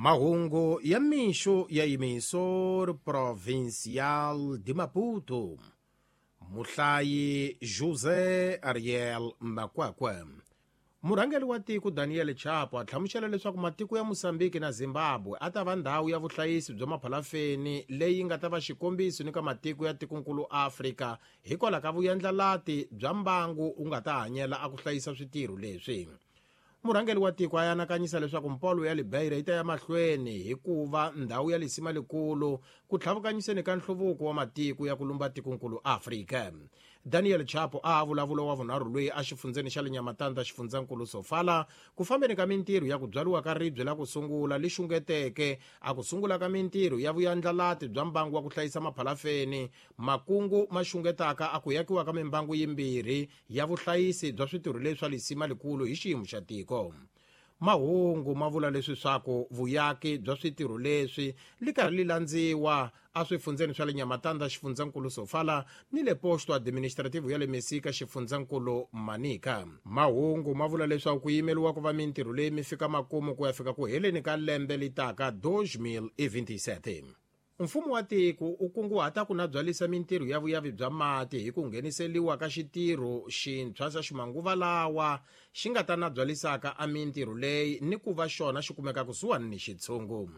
Mahungu ya mixo ya Emissor Provincial de Maputo. Muhlayi José Ariel Makwakwa. Murhangeri wa tiko Daniel Chapo a hlamusela leswaku matiko ya Mozambique na Zimbabwe a ta va ndhawu ya vuhlayisi bya maphalafeni leyi nga ta va xikombiso ni ka matiko ya tikonkulu Afrika hikwalaho ka vuyandlalati bya mbangu wu nga ta hanyela a ku hlayisa switirho leswi. Murhangeri wa tiko a anakanyisa leswaku mpolo ya Libeira yi ta ya mahlweni hikuva ndhawu ya lisima likulu ku tlhavukanyiseni ka nhluvuko wa matiko ya ku lumba tikonkulu Afrika. Daniel Chapo a vulavula wa vunharhu loyi a xifundzeni xa le Nhamatanda xifundzankulu Sofala ku fambeni ka mintirho ya ku byariwa ka ribye la ku sungula li xungeteke a ku sungula ka mintirho ya vuyandlalati bya mbangu wa ku hlayisa maphalafeni makungu ma xungetaka a ku yakiwa ka mimbangu yimbirhi ya vuhlayisi bya switirho leswi swa lisima likulu hi xiyimo xa tiko. Mahungu ma vula leswi swaku vuyaki bya switirho leswi li karhi li landziwa a swifundzeni swa le Nhamatanda xifundzankulu Sofala ni le Posto Administrativo ya le Mesika xifundzankulu Manica. Mahungu ma vula leswaku ku yimeliwa ku va mintirho leyi mi fika makumu ku ya fika ku heleni ka lembe litaka 2027. Mfumo wa tiko u kunguhata ku nabyalisa mintirho ya vuyavi bya mati hi ku ngheniseliwa ka xitirho xintshwa xa ximanguva lawa xi nga ta nabyalisaka a mintirho leyi ni ku va xona xi kumeka kusuhani ni xitshungu.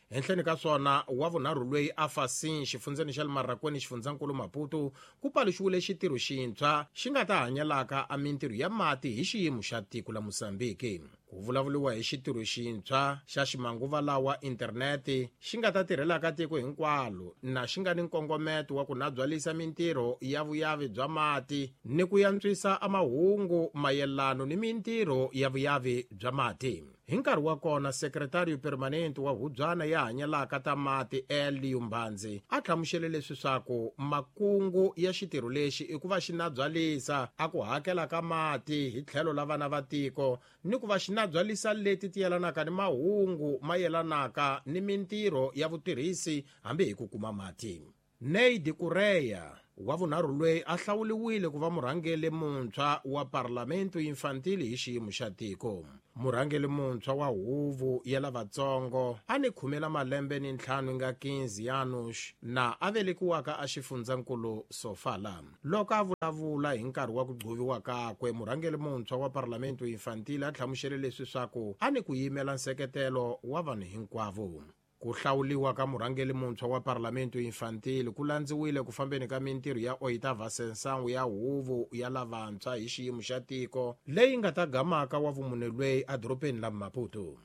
Henhleni ka swona wa vunharhu loyi a Fasin xifundzeni xa le Marracuene xifundzankulu Maputo ku paluxiwile xitirho xintshwa xi nga ta hanyelaka a mintirho ya mati hi xiyimo xa tiko la Mozambique. Ku vulavuriwa hi xitirho xintshwa xa ximanguva lawa internete xi nga ta tirhelaka tiko hinkwalo na xi nga ni nkongometo wa ku nabyalisa mintirho ya vuyavi bya mati ni ku yantswisa a mahungu mayelano ni mintirho ya vuyavi bya mati. Hi nkarhi wa kona sekretariyo permanente wa hubyana ya hanyelaka ta mati Elio Mbanzi a hlamusele leswi swaku makungu ya xitirho lexi i ku va xi nabyalisa a ku hakela ka mati hi tlhelo la vana va tiko ni ku va xi nabyalisa leti ti yelanaka ni mahungu ma yelanaka ni mintirho ya vutirhisi hambi hi ku kuma mati. Neide Correia wa vunharhu loyi a hlawuliwile ku va murhangeri muntshwa wa Parlamento Infantil hi xiyimo xa tiko. Murhangeri muntshwa wa huvo ya lavatsongo a ni khumela malembe ni ntlhanu nga 15 anos na a velekiwaka a xifundzankulu Sofala. Loko a vulavula hi nkarhi wa ku gcoviwa kakwe, murhangeri muntshwa wa Parlamento Infantil a hlamusele leswi swaku a ni ku yimela nseketelo wa vanhu hinkwavo. Ku hlawuliwa ka murhangeri muntshwa wa Parlamento Infantil ku landziwile ku fambeni ka mintirho ya Oitava Sessão ya huvo ya lavantshwa hi xiyimo xa tiko leyi nga ta gamaka wa vumune lweyi edorobeni la Maputo.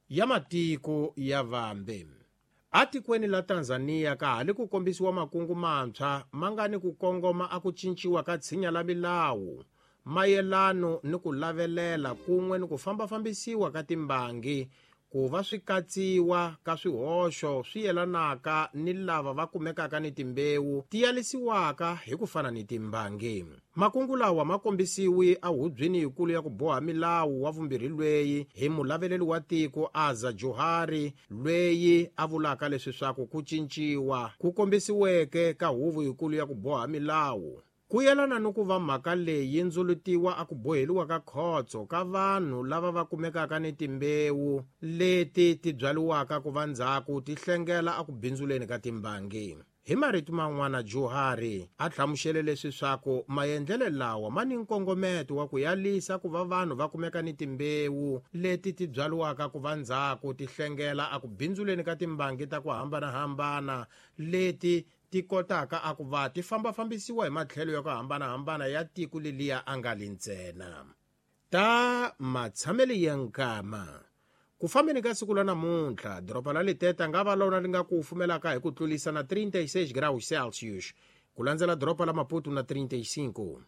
Ya matiko ya vambe. Atikweni la Tanzania ka ha li ku kombisiwa makungu mantshwa ma nga ni ku kongoma a ku cinciwa ka tshinya la milawu mayelano ni ku lavelela kun'we ni ku fambafambisiwa ka timbangi ku va swi katsiwa ka swihoxo swi yelanaka ni lava va kumekaka ni timbewu ti yalisiwaka hi ku fana ni timbangi. Makungu lawa ma kombisiwi ehubyeni yikulu ya ku boha milawu wa vumbirhi lweyi hi mulaveleli wa tiko Aza Johari lweyi a vulaka leswi swaku ku cinciwa ku kombisiweke ka huvo yikulu ya ku boha milawu ku yelana ni ku va mhaka leyi yi ndzulutiwa a ku boheliwa ka khotso ka vanhu lava va kumekaka ni timbewu leti ti byariwaka ku va ndzhaku ti hlengela a ku bindzuleni ka timbangi. Hi marito man'wana Johari a hlamusele leswi swaku maendlelo lawa ma ni nkongometo wa ku yalisa ku va vanhu va kumeka ni timbewu leti ti byariwaka ku va ndzhaku ti hlengela a ku bindzuleni ka timbangi ta ku hambanahambana leti ti kotaka a ku va ti fambafambisiwa hi matlhelo ya ku hambanahambana ya tiko leliya a nga li ntsena. Ta matshamelo ya nkama. Ku fambeni ka siku la namuntlha, doroba la Liteta nga va lona li nga ku fumelaka hi ku tlulisa na 36 graus Celsius, ku landzela doroba la Maputo na 35.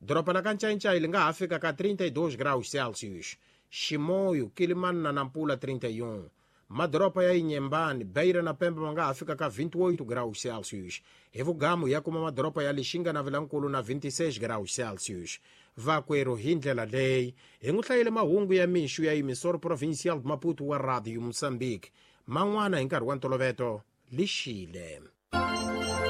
Doroba la Kancaincai li nga ha fika ka 32 graus Celsius, Chimoio, Quelimane na Nampula 31. Madoroba ya Inhambane, Beira na Pemba ma nga ha fika ka 28 graus Celsius. Hi vugamu ya kuma madoroba ya Lixinga na Vilankulu na 26 graus Celsius. Vakwerhu hi ndlela leyi hi n'wi hlayele mahungu ya mixo ya Emissor Provincial Maputo wa Radio Mozambique. Man'wana hi nkarhi wa ntoloveto lixile.